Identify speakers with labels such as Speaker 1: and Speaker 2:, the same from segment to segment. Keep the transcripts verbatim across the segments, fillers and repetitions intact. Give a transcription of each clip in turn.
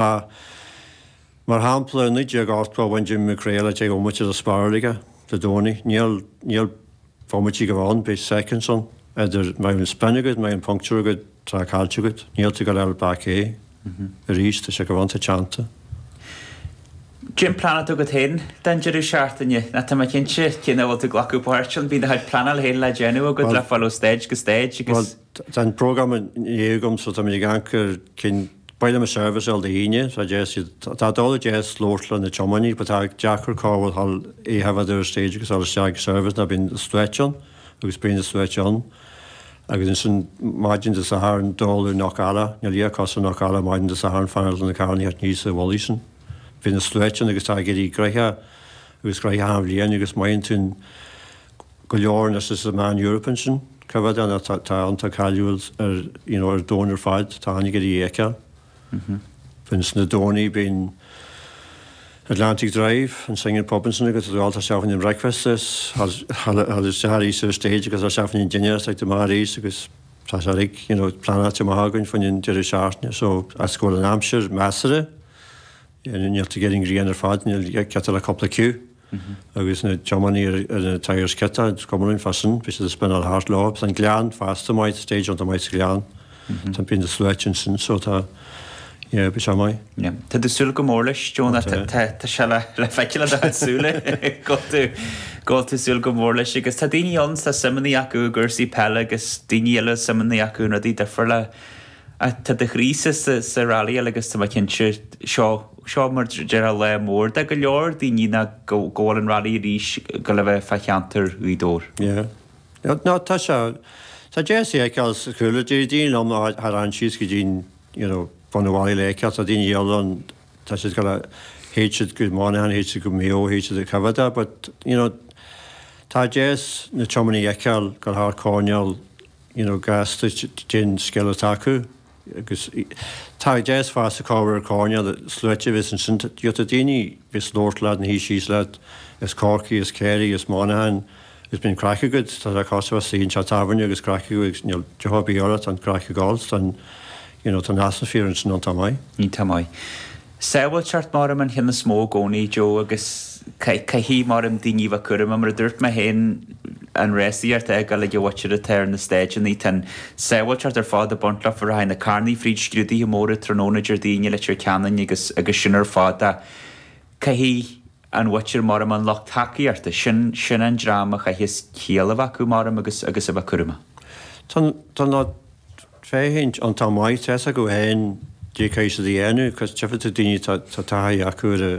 Speaker 1: Mar shampla, i naoi déag ochtó bhain Jimmy McGrail a deich bhomaite de spiral aige Dé Domhnaigh. Níl níl bomaití go ann, beidh seconds ann idir má bhíonn spin agat, má bhíonn puncture agat, tá caillte agat. Níl tú ag dul back é arís, tá sé go bhfanta teannta.
Speaker 2: Cén plean atá agat féin don deireadh seachtaine? Ná tá mé cinnte cé nach bhfuil tú ag glacadh páirt ann, bíonn do chuid pleanáil féin le déanamh agat le fáil ó stage go stage agus.
Speaker 1: Bhuel, tá an program inné agam so tá mé ag amharc ar cinn Ba mhaith liom an service a fháil Dé hAoine, tá deas iad, tá dul deas labhairt le na tiománaí but tá deacair cá bhfuil thall é a bheith ar stage agus dul isteach ag service ná bíonn sluaite ann agus bíonn na sluaite ann agus ansin maidin Dé Sathairn dul ar Knockalla, níl a fhios ar Knockalla maidin Dé Sathairn fanacht le na carranna a theacht aníos a bhullaí sin. Bíonn na sluaite ann agus tá ag éirí gnoitheach agus gnoitheach an bhliain agus maíonn tú go leor anois is a Man Europe ansin. Cá bhfad ann tá tá iontach cáiliúil ar you know ar domhan ar fad, tá an ag iarraidh a fheiceáil. Bíonn sna Domhnaigh bíonn Atlantic Drive, an singing pub ansin agus tá tú isteach in breakfast is thall isteach arís ar stage agus isteach in dinnéar is ag do maith arís agus tá sé uilig you know pleanáilte maith againn faoin an deireadh seachtaine so as go bhfuil an aimsir measartha níl tú ag iarraidh an ghrian ar fad níl ceart le cúpla queue agus na tiománaí ar ar na tyres ciotá is cuma linn fá sin bhí siad ag spinnáil thart leo agus an Gleann fosta maith stage iontach maith sa Ghleann tá bíonn na sluaite ansin so tá yeah bhí sé maith.
Speaker 2: Yeah. Tá tú ag súil go mór leis, Joe, tá tá sé le le feiceáil i do chuid súile go bhfuil tú go bhfuil tú ag súil go mór leis agus tá daoine ann tá suimeanna acu i gcúrsaí peile agus daoine eile suimeanna acu in rudaí difriúla. Ach tá do chroí sa sa sa rallyáil agus tá mé cinnte seo seo mar déarfá lá mór do go leor daoine ná go go bhfuil an rally arís go le bheith fá cheantar Ghaoth Dobhair.
Speaker 1: Yeah. No tá sé tá deas é a fheiceáil sa chúlra deir daoine liom thar an síos go dtí you know bun an bhaile le fheiceáil tá daoine eile ann tá siad go théid siad go Monaghan théid siad go Mayo théid siad go Ceanada but you know tá deas na tiománaí a fheiceáil go thar coirnéal you know gasta den scil atá acu agus tá deas fosta cá bhfuil ar coirnéal sluaite a bheas ansin you tá daoine bheas labhairt leat na thaobh síos leat is Corcaigh is Kerry is Monaghan agus bíonn craic agat tá sé cosúil le suí anseo tábhairne agus craic agat agus níl deoch ar bith ort tá an craic ag gabháil tá an you know tá an atmaisféar ansin iontach maith.
Speaker 2: Iontach maith. Sábháilteacht maram an cheann is mó i gcónaí Joe agus caithfidh maram daoine a bheith cúramach mar a dúirt mé féin an rásaíocht a fheiceáil ag an mhuintir atá ar na staideanna tá an sábháilteacht ar fad ag baint leofa rachaidh na carranna fríd scrúduithe móra tráthnóna Déardaoin i Leitir Ceanainn agus agus sin ar fad ach caithfidh an mhuintir maram an lucht tacaíochta sin sin an dream a chaithfeas ciall a bheith acu maram agus agus a bheith cúramach.
Speaker 1: Tá tá na féachaint iontach maith tá fhios acu féin cad é caithfidh siad a dhéanamh cos tchífidh tú daoine tá tá taithí acu ar a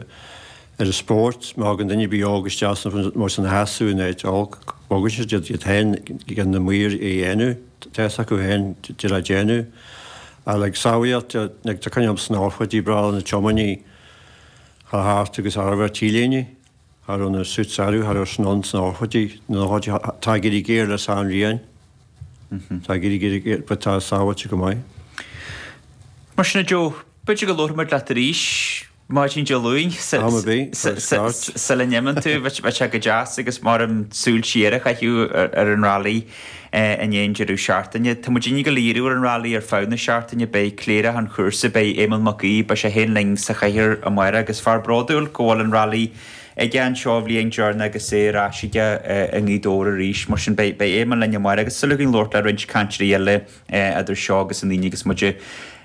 Speaker 1: ar an spórt má thagann duine ar bith óg isteach sna mar san sheasamh in áit olc bogann siad iad iad féin ag na maoir a dhéanamh tá fhios acu féin cad le déanamh ach like sábháilteacht like tá coinne sna nóchaidí breá na tiománaí thar thart agus thar a bheith T-léine thar raibh na suits orthu thar raibh sna sna nóchaidí na nóchaidí tá ag éirí géar le San Riain. Tá ag éirí géar géar but tá sábháilte go maith.
Speaker 2: Mar sin a Joe, b'fhéidir go labharfaidh muid leat arís maidin Dé Luain
Speaker 1: Am ar bith, tá start.
Speaker 2: sula n-imíonn tú, bheadh sé go deas agus maram súil siar a chaitheamh ar an rally i ndiaidh an deireadh seachtaine. Tá muid ag díriú ar an rally ar feadh na seachtaine, beidh cléireach an chúrsa, beidh Éamonn Mac Aoidh, beidh sé féin linn sa chathaoir amárach agus fear bródúil go bhfuil an rally aige anseo an bhliain deireanach agus é ar ais aige i nGaoth Dobhair arís. Mar sin beidh Éamonn linn amárach agus súil againn labhairt le roinnt cainteoirí eile idir seo agus an Aoine agus muid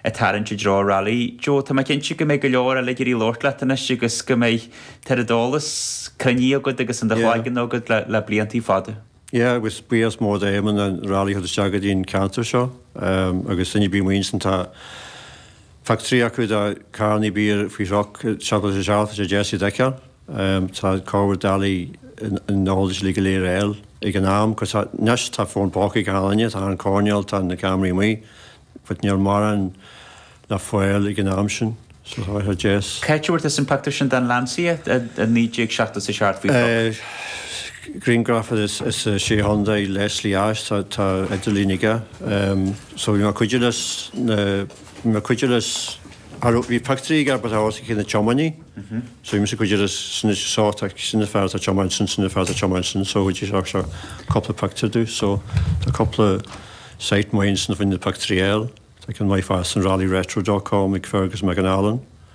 Speaker 2: ag tarraingt i dtreo rally. Joe, tá mé cinnte go mbeidh go leor eile ag iarraidh labhairt leat anois agus go mbeidh an t-eolas cruinnithe agat agus in do chloigeann agat le le bliantaí fada.
Speaker 1: Yeah, agus buíochas mór d'Éamonn an rally a chur isteach go dtí an ceantar seo agus duine ar bith amuigh ansin tá pictiúirí acu de carrannaí beaga faoi thruc seachtó sé seacht tá sé deas iad a fheiceáil. Tá corrmhór doiligh an eolais uilig go léir a fháil ag an am cos anois tá fón póca ag achan duine, tá an coirnéal, tá na ceamaraí amuigh but níl mórán le fáil ag an am sin so tá sé deas.
Speaker 2: Cá háit a bhfuair tusa an pictiúr sin den Lancia i naoi déag seachtó a seacht faoi thruc?
Speaker 1: Grianghraf as Sé Chontae Leslie Ash, tá tá idirlíon aige so bhí mé ag cuidiú leis na bhí mé ag cuidiú leis bhí pictiúirí aige but os cionn na tiománaí so bhí mise ag cuidiú leis sin so tá sin na fear atá tiomáint sin sin na fear atá tiomáint sin so chuidigh sé seo cúpla pictiúr domh so tá cúpla site maith ansin faoi na pictiúirí eile tá ceann maith fosta an rallyretro dot com ag Fergus McAnallen.